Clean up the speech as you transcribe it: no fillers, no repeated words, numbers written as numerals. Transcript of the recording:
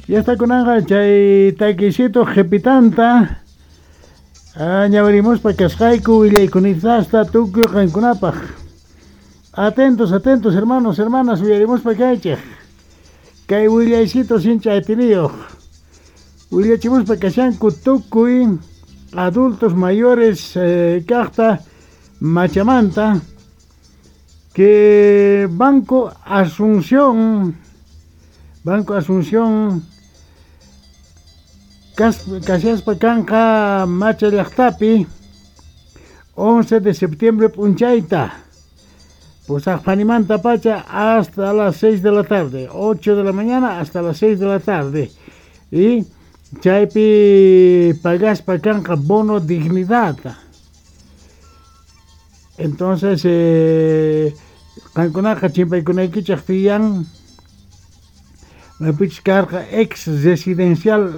Ya está kunanqa chay takisito qhipitanta ñawirimuspa kasqayku willaykunitasta tukuy qankunapaq. Atentos, atentos, hermanos, hermanas, uyarimuspa kaychej. Kay willaycito sincha atiniyuq. Willachimuspa kashanku tukuy adultos mayores kaqta Machamanta que Banco Asunción kashaspa kanqa Macha llaqtapi 11 de septiembre p'unchayta pusaqpanimanta pacha hasta las 6 de la tarde, 8 de la mañana hasta las 6 de la tarde, y chaypi pagaspa kanqa bono dignidad. Entonces qankunaqa chimpaykunaykichik tiyan maypichus karqa ex residencial.